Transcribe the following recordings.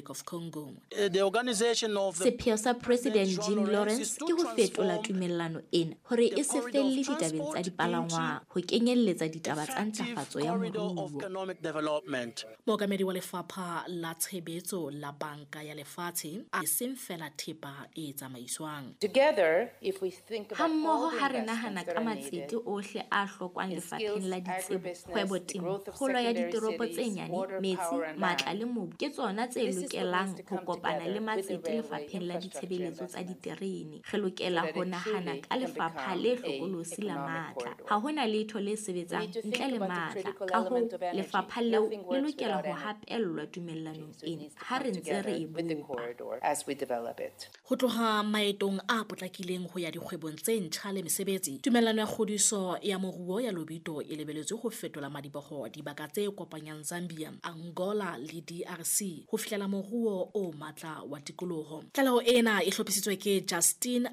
Republic of Congo. The organization of the Sepheo sa President Jean Jean Lawrence Lawrence ke ho fetola tumellano ena hore e se felle ditabeng tsa dipalangwang, ho kenyelletsa ditaba tsa ntlafatso ya corridor of moruo. economic development. Mookamedi wa lefapha la tshebetso la Banka ya Lefatshe a seng feela thepa e tsamaiswang. Together, if we think about Ha mmoho all the ha re nahana investments that ka are matsete needed ohle a hlokwang in lefapheng skills, la ditsebo, agribusiness, kgwebo, the temo, growth of kgolo ya secondary ditoropo tse cities, nyane, water, metsi, power and matla land. le mobu ke tsona tse This is what lokelang needs to ho come kopana le together with the matsete railway lefapheng la infrastructure ditshebeletso tsa investments diterene. Re lokela so that ho it nahana truly ka can lefapha become le a hlokolosi la economic matla. corridor. Ha hona letho le sebetsang We need to ntle think le about the matla. critical Ka hoo, element of energy. lefapha leo Nothing le works lokela without ho energy. hapellwa tumellanong So it ena needs to ha come re ntse re e together with the bopa. corridor as we develop it. Ho tloha maetong a potlakileng ho ya dikgwebong tse ntjha le mesebetsi, tumellano ya kgodiso ya moruo ya Lobito e lebeletswe ho fetola madiboho dibaka tse kopanyang Zambia, Angola le DRC ho fihlela moruo o matla wa tikoloho. Tlaleho ena e hlophisitswe ke Justin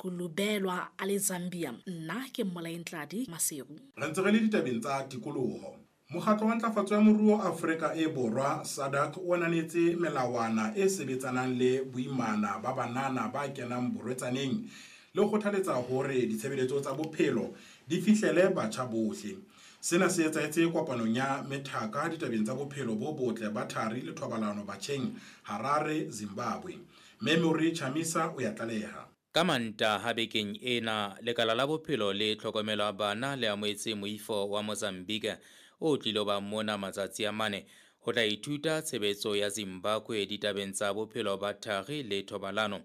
Akakulubelwa a le Zambia. Nna ke Mmolae Ntladi Maseru. Re ntse re le ditabeng tsa tikoloho. Mokgatlo wa Ntlafatso ya Moruo Afrika e Borwa SADC o ananetse melawana e sebetsanang le boimana ba banana ba kenang borwetsaneng le ho kgothaletsa hore ditshebeletso tsa bophelo di fihlele batjha bohle. Sena se etsahetse kopanong ya methaka ditabeng tsa bophelo bo botle ba thari le thobalano batjheng Harare, Zimbabwe. Memory Chamisa o ya tlaleha. Ka Mantaha bekeng ena, lekala la bophelo le tlhokomelo ya bana le amohetse moifo wa Mozambique o tlilo ba mona matsatsi a mane ho tla ithuta tshebetso ya Zimbabwe ditabeng tsa bophelo ba thari le thobalano.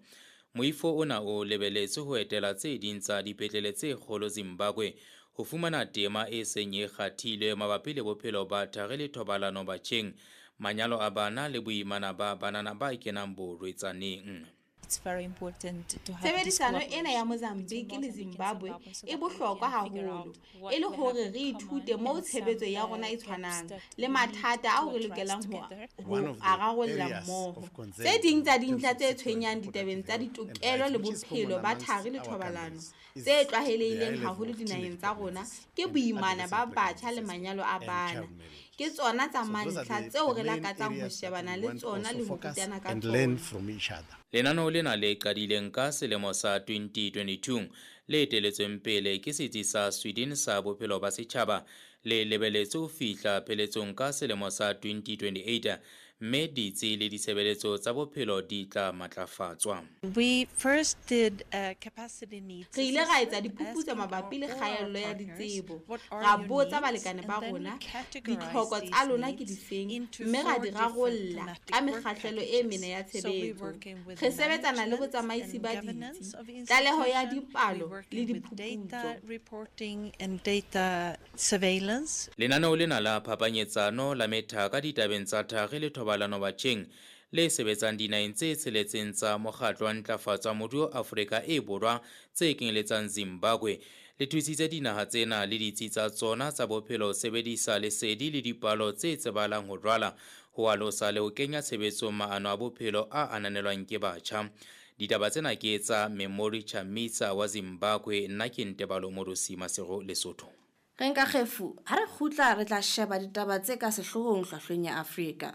Moifo ona o lebeletswe ho etela tse ding tsa dipetlele tse kgolo Zimbabwe ho fumana tema e seng e kgathilwe mabapi le bophelo ba thari le thobalano batjheng, manyalo a bana le boimana ba banana ba kenang borwetsaneng. It's very important to have this Tshebedisano ena ya cooperation Mozambique between le Mozambique and Zimbabwe Zimbabwe so e that we bohlokwa can figure haholo out what e le we have hore in re common ithute moo and some, tshebetso ya rona e gaps tshwanang that le we need mathata to ao re address lokelang ho together. One ho of the ararolla areas mmoho. of concern Tse ding tsa in terms dintlha of tse sexual tshwenyang and ditabeng tsa reproductive health and ditokelo rights, le which is bophelo common ba amongst thari le our thobalano countries, is tse the tlwaelehileng high level haholo of dinaheng teenage tsa rona pregnancies ke and boimana ba adolescent batjha le pregnancies manyalo a and bana. child marriages. Ke tsona tsa So those are mantlha the tseo re main lakatsang ho areas that shebana we le want tsona also le ho focus rutana ka and learn tsona. from each other. Lenaneo lena le qadileng ka selemo sa 2022 le eteletsweng pele ke setsi sa Sweden sa bophelo ba setjhaba le lebeletswe ho fihla pheletsong ka selemo sa 2028 mme ditsi le ditshebeletso tsa bophelo di tla matlafatswa. We first did a capacity needs Re ile ra etsa assessment, diphuputso asking mabapi le all our kgaello ya partners, ditsebo. what are Ra your botsa needs? balekane And ba then we rona categorized ditlhoko these tsa lona ke needs difeng into mme ra four di different rarolla thematic ka work mekgahlelo e mene ya packages. So we're tshebetso. working with Re sebetsana le management botsamaisi and ba governance ditsi, of tlaleho ya institution. dipalo We're le working with diphuputso. data reporting and data surveillance. Lenaneo lena la phapanyetsano la methaka ditabeng tsa thari le thobalano batjheng le sebetsang dinaheng tse tsheletseng tsa mokgatlo wa ntlafatso ya moruo Afrika e Borwa tse kenyeletsang Zimbabwe le thusitse dinaha tsena le ditsi tsa tsona tsa bophelo ho sebedisa lesedi le dipalo tse tsebahalang ho rwala, ho alosa le ho kenya tshebetsong maano a bophelo a ananelwang ke batjha. Ditaba tsena ke tsa Memory Chamisa wa Zimbabwe, nna ke Ntebalo Morosi Maseru, Lesotho. Re nka kgefu, ha re kgutla re tla sheba ditaba tse ka sehloohong hlwahlweng ya Afrika.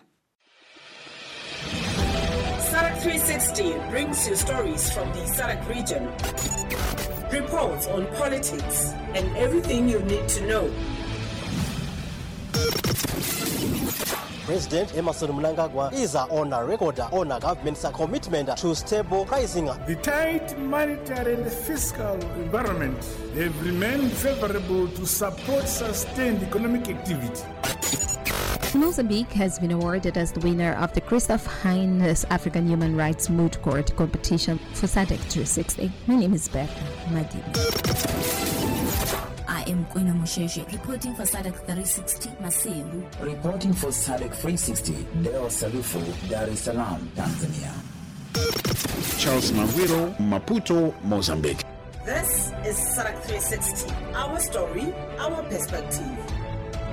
SADC 360 brings you stories from the SADC region, reports on politics and everything you need to know. President Emmerson Mnangagwa is on a record on a government's commitment to stable pricing. The tight monetary and fiscal environment have remained favorable to support sustained economic activity. Mozambique has been awarded as the winner of the Christoph Heinz African Human Rights Moot Court competition for SADC 360. My name is Bertha Madini. I am Kwena Mosheshe, reporting for SADC 360, Maseru. Reporting for SADC 360, Deo Salufu, Dar es Salaam, Tanzania. Charles Mawiro, Maputo, Mozambique. This is SADC 360, our story, our perspective.